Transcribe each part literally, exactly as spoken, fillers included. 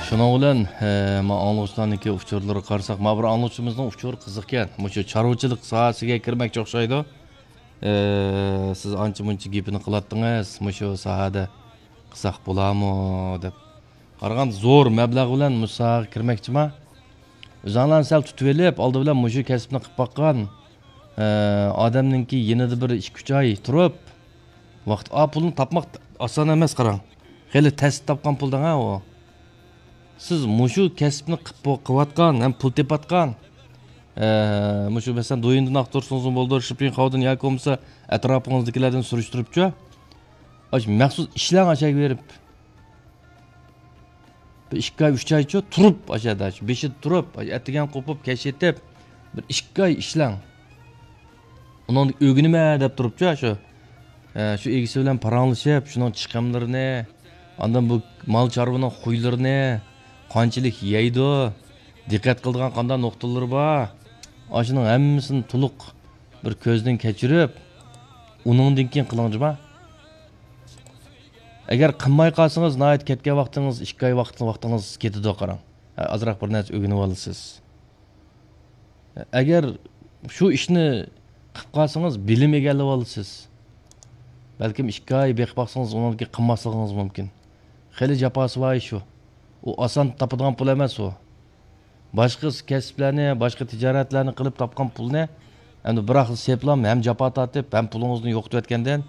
شۇنىڭ بىلەن، ئە، ما ئاڭلىغۇچىلارنىڭكى ئۇچۇرلىرىغا قارىساق، ما بىر ئاڭلىغۇچىمىزنىڭ ئۇچۇرى قىزىقكەن. مۇشۇ چارۋىچىلىق ساھەسىگە كىرمەكچى ئوخشايدۇ. ئە، سىز ئانچە مۇنچە گېپىنى قىلاتتىڭىز، مۇشۇ ساھەدە قىلساق بولامۇ دەپ. قارىغاندا زور مەبلەغ بىلەن مۇشۇ ساھەگە كىرمەكچىما؟ ئۆزۈڭلارنى سەل تۇتۇۋېلىپ، ئالدى بىلەن مۇشۇ كەسىپنى قىلىپ باققان، ئە، ئادەمنىڭكى يېنىدا بىر ئىككى-ئۈچ ئاي تۇرۇپ، ۋاقىت، ئا، پۇلنى تاپماق ئاسان ئەمەس، قاراڭ. خېلى تەستە تاپقان پۇل دەڭە ئۇ. سىز مۇشۇ كەسىپنى قىلىپ، قىلىۋاتقان ھەم پۇل تېپىۋاتقان، ئە، مۇشۇ مەسىلەن، دويىندىن ئاختۇرسىڭىزمۇ بولىدۇ، شىپىڭخاۋدىن ياكى بولمىسا ئەتراپىڭىزدىكىلەردىن سۈرۈشتۈرۈپچۇ. ئاشۇ مەخسۇس ئىشلەڭ ئاشەگە بېرىپ. بىر ئىككى ئاي، ئۈچ ئايچۇ تۇرۇپ، ئاشۇ يەردە، بېشىدا تۇرۇپ، ئەتىگەن قوپۇپ، كەچ يېتىپ، بىر ئىككى ئاي ئىشلەڭ. ئۇنىڭدىن ئۆگىنىمەن دەپ تۇرۇپچۇ، شۇ، ئە، شۇ ئىگىسى بىلەن پاراڭلىشىپ، شۇنىڭ چىقىملىرىنى، ئاندىن بۇ مال چارۋىنىڭ خۇيلىرىنى، قانچىلىك يەيدۇ، دىققەت قىلىدىغان قانداق نۇقتىلىرى بار، ئاشۇنىڭ ھەممىسىنى تولۇق بىر كۆزدىن كەچۈرۈپ، ئۇنىڭدىن كېيىن قىلىڭ جۇما. ئەگەر قىلماي قالسىڭىز، ناھايىتى كەتكەن ۋاقتىڭىز، ئىككى ئاي ۋاقىت، ۋاقتىڭىز كېتىدۇ، قاراڭ. ئازراق بىر نەرسە ئۆگىنىۋالىسىز. ئەگەر شۇ ئىشنى قىلىپ قالسىڭىز، بىلىم ئىگىلىۋالىسىز. بەلكىم ئىككى ئاي بېقىپ باقسىڭىز، ئۇنىڭدىن كېيىن قىلماسلىقىڭىز مۇمكىن. خېلى جاپاسى بار ئىش شۇ. ئۇ ئاسان تاپىدىغان پۇل ئەمەس ئۇ. باشقا كەسىپلەرنى، باشقا تىجارەتلەرنى قىلىپ تاپقان پۇلنى ئەمدى بىراقلا سېپىلام، ھەم جاپا تارتىپ، ھەم پۇلىڭىزنى يوقىتىۋەتكەندىن،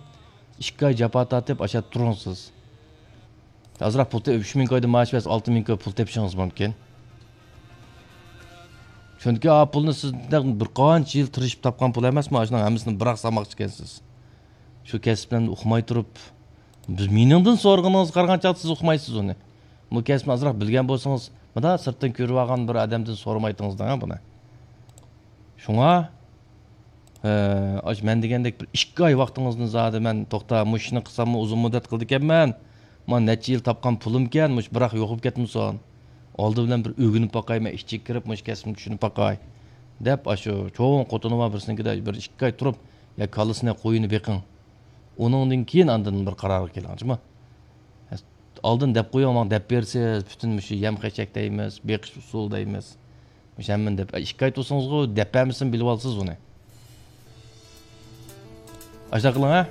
ئىككى ئاي جاپا تارتىپ، ئاشۇ يەردە تۇرۇڭ سىز. ئازراق پۇل تېپ-، ئۈچ مىڭ كويدىن مائاش بەرسە، ئالتە مىڭ كوي پۇل تېپىشىڭىز مۇمكىن. چۈنكى ئا پۇلنى سىز بىر قانچە يىل تىرىشىپ تاپقان پۇل ئەمەسمۇ، ئاشۇنىڭ ھەممىسىنى بىراق سالماقچى ئىكەنسىز. شۇ كەسىپلەرنى ئۇقماي تۇرۇپ، بىز، مېنىڭدىن سورىغىنىڭىزغا قارىغان چاغدا سىز ئۇقمايسىز ئۇنى. بۇ كەسىپنى ئازراق بىلگەن بولسىڭىز، مۇنداق سىرتتىن كۆرۈۋالغان بىر ئادەمدىن سورىمايتتىڭىز دەڭ بۇنى. شۇڭا، ئە، ئاش مەن دېگەندەك بىر ئىككى ئاي ۋاقتىڭىزنى زادى مەن توختا، مۇشۇ ئىشنى قىلساممۇ ئۇزۇن مۇددەت قىلىدىكەنمەن. مانا نەچچە يىل تاپقان پۇلۇمكەن، مۇشۇ بىراق يوقىلىپ كەتمىسۇن. ئالدى بىلەن بىر ئۆگىنىپ باقاي، مەن ئىچىگە كىرىپ مۇشۇ كەسىپنى چۈشىنىپ باقاي، دەپ ئاشۇ چوڭ خوتۇنى بار بىرسىنىڭكىدە بىر ئىككى ئاي تۇرۇپ، يا كالىسىنى، قويىنى بېقىڭ. ئۇنىڭدىن كېيىن ئاندىن بىر قارارغا كېلىڭ، جۇمۇ. ئالدىن دەپ قويۇڭ، ماڭا دەپ بېرىسىز، پۈتۈن مۇشۇ يەم خەشەك دەيمىز، بېقىش ئۇسۇلى دەيمىز. مۇشۇ ھەممىنى دەپ، ئىككى ئاي تۇرسىڭىزغۇ، دەپ بەرمىسىمۇ بىلىۋالىسىز ئۇنى. ئاشۇنداق قىلىڭ، ھە؟